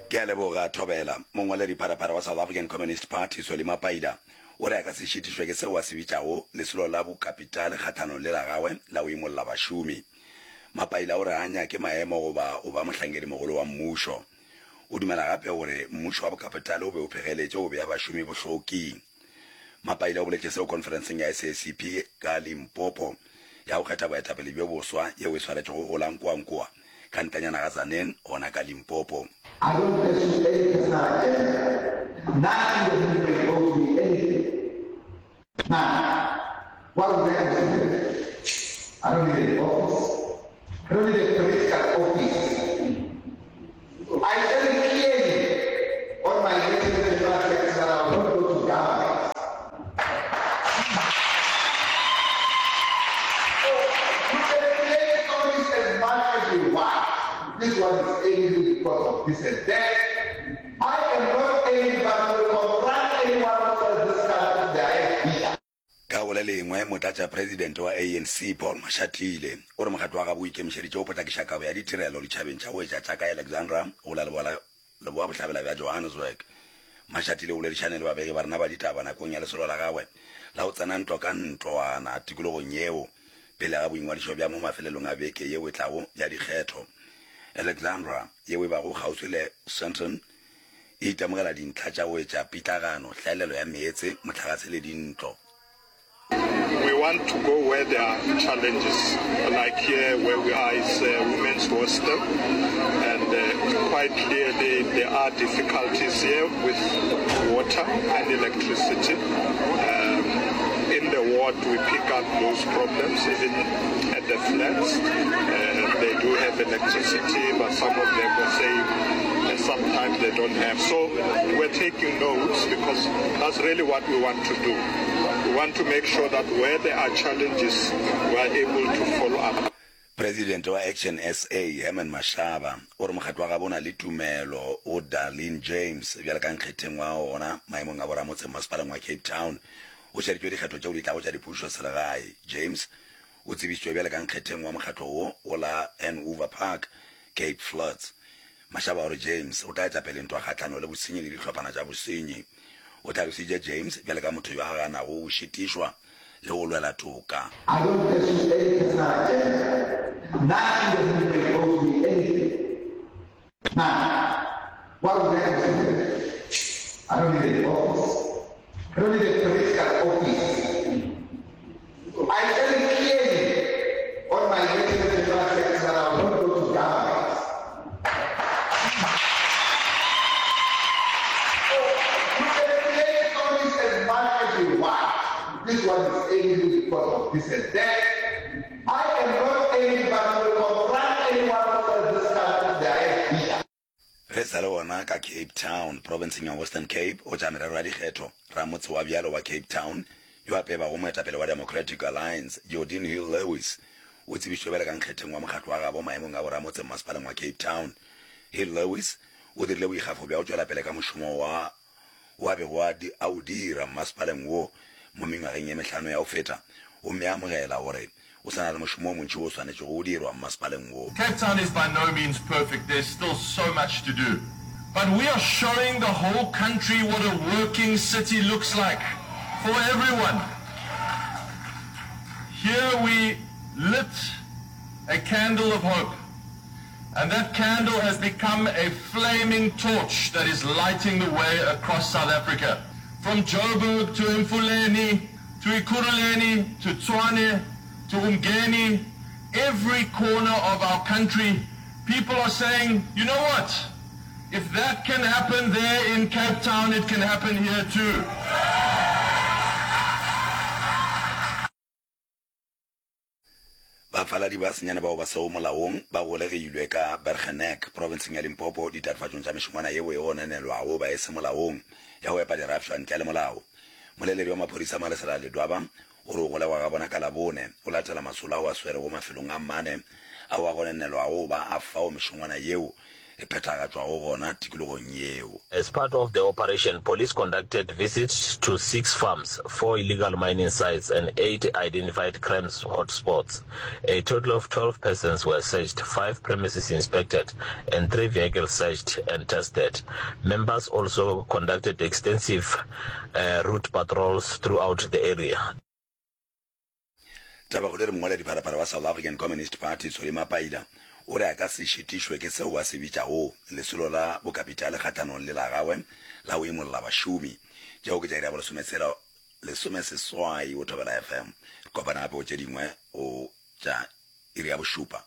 Ke a leboga, Thobela. Mongwaledipharapara wa South African Communist Party, Solly Mapaila, o re a ka se šitišwe ke seo a se bitšago lesolo la bokapitale kgahlanong le la gagwe la go imolla bašomi. Mapaila o re ga a nyake maemo goba go ba mohlankedimogolo wa mmušo. O dumela gape gore mmušo wa bokapitale o be o phegeletše go bea bašomi bohloking. Mapaila o boletše seo khonferenseng ya SACP ka Limpopo ya go kgetha boetapele bjo boswa yeo e swaretšwego go la Nkoankoa ka ntanyana ga Tzaneen gona ka Limpopo. I don't pursue any personal agenda, none in the movement owes me anything, none, what would I pursue then? I don't need an office, I don't need a political office, I said it clearly on my latest general secretary that I will not go to government. So you can play stories as much as you want. This one is angry because of this and that. I am not angry but will confront anyone who sells this country to the highest bidder. Ka go le lengwe, Motlatšapresidente wa ANC Paul Mashatile o re mokgatlo wa gabo o ikemišeditše go potlakiša kabo ya ditirelo ditšhabeng tša go etša tša ka Alexandra go la leboa bohlabela bja Johannesburg. Mashatile o boledišane le babegi ba rena ba ditaba nakong ya lesolo la gagwe la go tsena ntlo ka ntlwana tikologong yeo pele ga boingwadišo bja mo mafelelong a beke yeo e tlago ya dikgetho. Alexandra, yeo e bago kgauswi le Sandton, e itemogela dintlha tša go etša pitlagano, hlaelelo ya meetse, mohlagase le dintlo. We want to go where there are challenges like here where we are is a women's hostel and quite clearly there are difficulties here with water and electricity. Um, in the ward we pick up those problems even at the flats. Uh, they do have electricity but some of them were saying uh, sometimes they don't have. So we're taking notes because that's really what we want to do. We want to make sure that where there are challenges, we are able to follow up. Presidente wa Action SA, Herman Mashaba, o re mokgatlo wa gabo o na le tumelo go Darlene James bjalo ka nkgetheng wa ona maemong a boramotse mmasepaleng wa Cape Town. O šeditšwe dikgetho tšeo di tlago tša dipušo selegae. James o tsebišitšwe bjalo ka nkgetheng wa mokgatlo wo go la Hanover Park, Cape Flats. Mashaba o re James o tla eta pele ntwa kgahlano le bosenyi le dihlophana tša bosenyi. O hlalositše James bjalo ka motho yo a ganago go šitišwa le go lwela toka. I don't pursue any personal agenda, none in the movement owes me anything, none, what would I pursue then? I don't need an office, I don't need a political office. I said it clearly on my latest general secretary that I will not go to government. So you can play stories as much as you want. This one is angry because of this and that. I am not angry but will confront anyone who sells this country to the highest bidder. Ge e sa le gona ka Cape Town, profenseng ya Western Cape, go tša merero ya dikgetho, ramotse wa bjalo wa Cape Town yo a pebago moetapele wa Democratic Alliance, Geordin Hill-Lewis, o tsebišitšwe bjalo ka nkgetheng wa mokgatlo wa gabo maemong a boramotse mmasepaleng wa Cape Town. Hill-Lewis o dirile boikgafo bja go tšwela pele ka mošomo wa wo a bego a a o dira mmasepaleng wo mo mengwageng ye mehlano ya go feta gomme a amogela gore o sa na le mošomo o montši wo o swanetšego go dirwa mmasepaleng wo. Cape Town is by no means perfect, there's still so much to do. But we are showing the whole country what a working city looks like for everyone. Here we lit a candle of hope. And that candle has become a flaming torch that is lighting the way across South Africa. From Joburg to Mfuleni, to Ekurhuleni, to Tshwane, to Umgeni, every corner of our country, people are saying, you know what? If that can happen there in Cape Town, it can happen here too. Bafaladi ba senyane bao ba sego molaong ba golegilwe ka Bergenek, profenseng ya Limpopo, ditatofatšong tša mešongwana yeo e gononelwago ba e se molaong ya go epa dirafšwa ntle le molao. Moleledi wa maphodisa Malesela Ledwaba o re go golegwa ga bona ka Labone go latela masolo ao a swerego mafelong a mane ao a gononelwago go ba a fao mešongwana yeo. e phethagatšwago gona tikologong yeo. As part of the operation, police conducted visits to six farms, four illegal mining sites and eight identified crimes hotspots. A total of 12 persons were searched, five premises inspected and three vehicles searched and tested. Members also conducted extensive uh, route patrols throughout the area. Tabakgolo e re mongwaledipharapara wa South African Communist Party Solly Mapaila o re a ka se šitišwe ke seo a se bitšago lesolo la bokapitale kgahlanong le la gagwe la go imolla bašomi. Tšeo ke tša iri ya bolesometshela lesomeseswai go Thobela FM. Re kopana gape go tše dingwe go tša iri ya bošupa.